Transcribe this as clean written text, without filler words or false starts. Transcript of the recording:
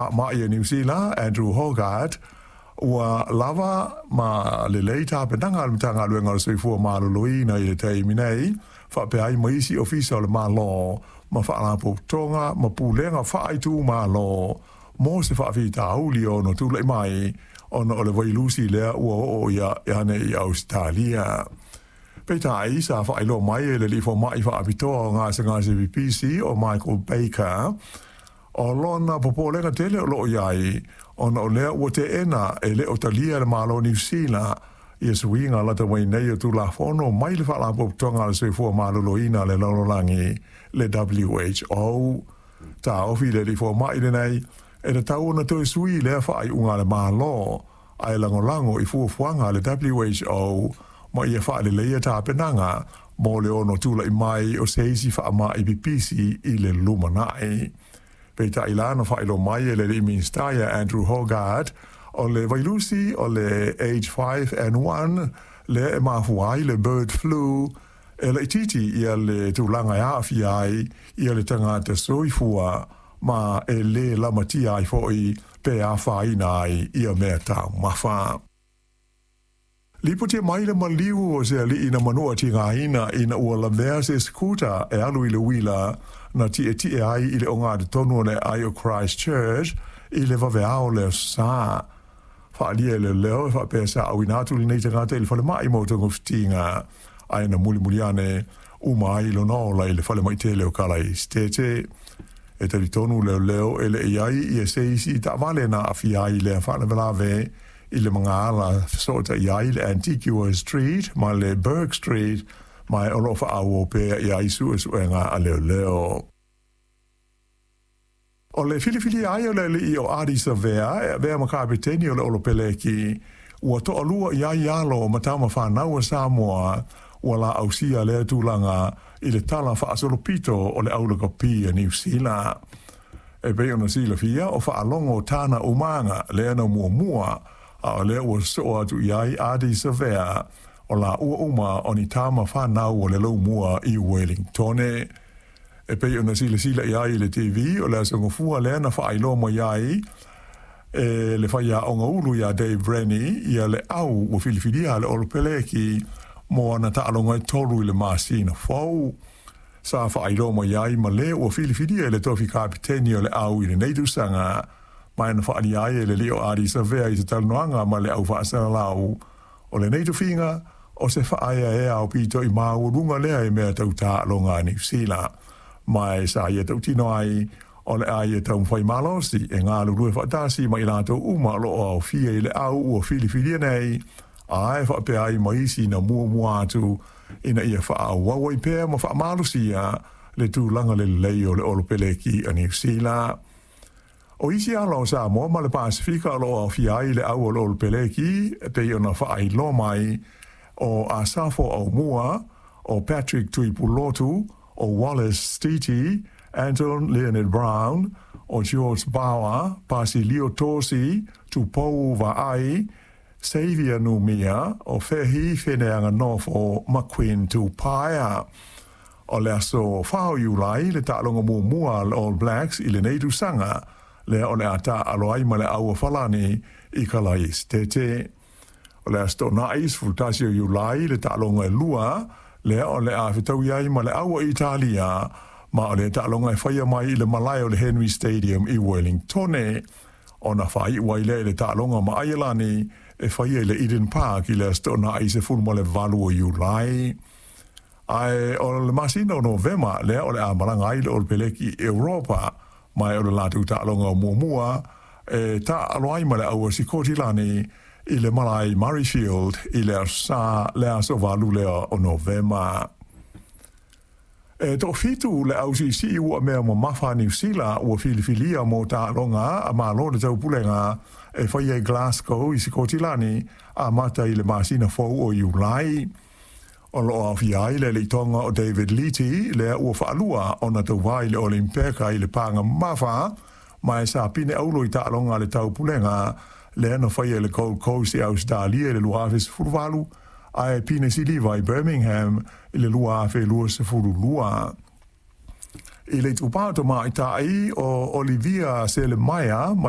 Faamai a Niu Sila, Andrew Hoggard, ua lava ma lelei tapenaga a le Matagaluega o le Soifua Maloloina i le taimi nei, faapea ai ma isi ofisa o le Malo ma faalapotopotoga ma pulega faaitumalo mo se faafitauli e ono tulai mai ona o le vailusi lea ua oo ane i Ausetalia. Peitai, sa faailoa mai e le alii fomai faapitoa o gasegase pipisi o Michael Baker, o lona popolega tele o lo o i ai ona o lea ua teena e le o talia e le Malo o Niu Sila ia suiga lata mai nei o Tulafono mai le Faalapotopotoga a le Soifua Maloloina a le Lalolagi, le WHO. Taofi le alii fomai lenei e tatau ona toe sui lea faaiuga a le Malo ae lagolago i fuafuaga a le WHO ma ia faaleleia tapenaga mo le ono tulai mai o se isi faamai pipisi i le lumanai. Peitai la na faailoa mai e le alii Minisita ia Andrew Hoggard, o le vailusi o le H5N1 lea e mafua ai le bird flu, e laitiiti ia le tulaga e aafia ai ia le tagata soifua ma e le lamatia ai foi pe afaina ai ia mea taumafa. Lipotia mai le maliu o se alii na manua tigaina ina ua lavea se scooter e alu i le uila na tietie ai i le ogatotonu o le aai o Christchurch i le vaveao o le Aso Sa. Faaalia e leoleo e faapea sa auina atu lenei tagata i le falemai mo togafitiga, ae na mulimuli ane uma ai lona ola i le falemai tele o Kalaesetete. E talitonu leoleo e le i ai ia se isi taavale na aafia ai i lea faalavelave i le magaala fesootai ai le Antigua Street ma le Bourke Street, ma o lo o faaauau pea i ai suesuega a leoleo. O le filifilia ai o le alii o Ardie Savea e avea ma kapeteni o le Olopeleki, ua toalua i ai alo ma tama fanau a Samoa ua laausia lea tulaga i le tala faasolopito o le aulakapi a Niu Sila. E pei ona silafia, o Faalogo Tana Umaga lea na muamua, a o lea ua sosoo atu i ai Ardie Savea, o laua uma o ni tama fanau a le Laumua i Welingtone. E pei ona silasila i ai i le TV, o le Aso Gafua lea na faailoa mai ai e le faiaoga ulu iā Dave Rennie ia le au ua filifilia a le Olopeleki mo ana taaloga e tolu i le masina fou. Sa faailoa mai ai ma le ua filifilia i le tofi kapeteni o le au i lenei tausaga, ma e na faaalia ai e le alii o Ardie Savea i se talanoaga ma le au faasalalau o lenei tofiga o se faaeaea aupito i maualuga lea i mea tau taaloga a Niu Sila, ma e sa ia tautino ai o le a ia taumafai malosi e galulue faatasi ma i latou uma o lo o aofia i le au ua filifilia nei, a e faapea ai ma isi na muamua atu ina ia faaauau ai pea ma faamalosia le tulaga lelei o le Olopeleki a Niu Sila. O isi ala o Samoa ma le Pasefika o lo o aofia ai le au o le Olopeleki e pei ona faailoa mai o Asafo Aumua, o Patrick Tuipulotu, o Wallace Stiti, Anton Leonard Brown, o George Bauer, Pasilio Tosi, Tupou Vaai, Xavier Numia, o Fehi Feneaganofo ma Quinn Tupaea. O le aso 4 o Iulai le taaloga muamua a le All Blacks i lenei tausaga, lea o le a taaalo ai ma le Au a Falani i Kalaesetete. O le Aso Toonai 11 o Iulai le taaloga e lua, lea o le a fetaui ai ma le Au a Italia, ma o lea taaloga e faia mai i le malae o le Henry Stadium i Wellingtone. Ona faaiu ai lea i le taaloga ma Aielani e faia i le Eden Park i le Aso Toonai 18 o Iulai. Ae o le masina o Novema lea o le a malaga ai le Olopeleki i Europa, ma e o le latou taaloga muamua e taaalo ai ma le au a Sikotilani i le malae i Murrayfield i le Aso Sa le aso 8 lea o Novema. E toafitu le au siisii ua mea mamafa a Niu Sila ua filifilia mo taaloga a Malo o le Taupulega e faia i Glasgow i Sikotilani amata i le masina fou o Iulai. O lo o aofia ai le alii-toga o David Liti, lea ua faalua ona tauva i le Olimpeka i le paga mamafa, ma e sa pine auro i taaloga a le Taupulega lea na faia i le Gold Coast i Ausetalia i le 2018, ae pine siliva i Birmingham i le 2022. I le itupa o tamaitai o Olivia Selemaia mai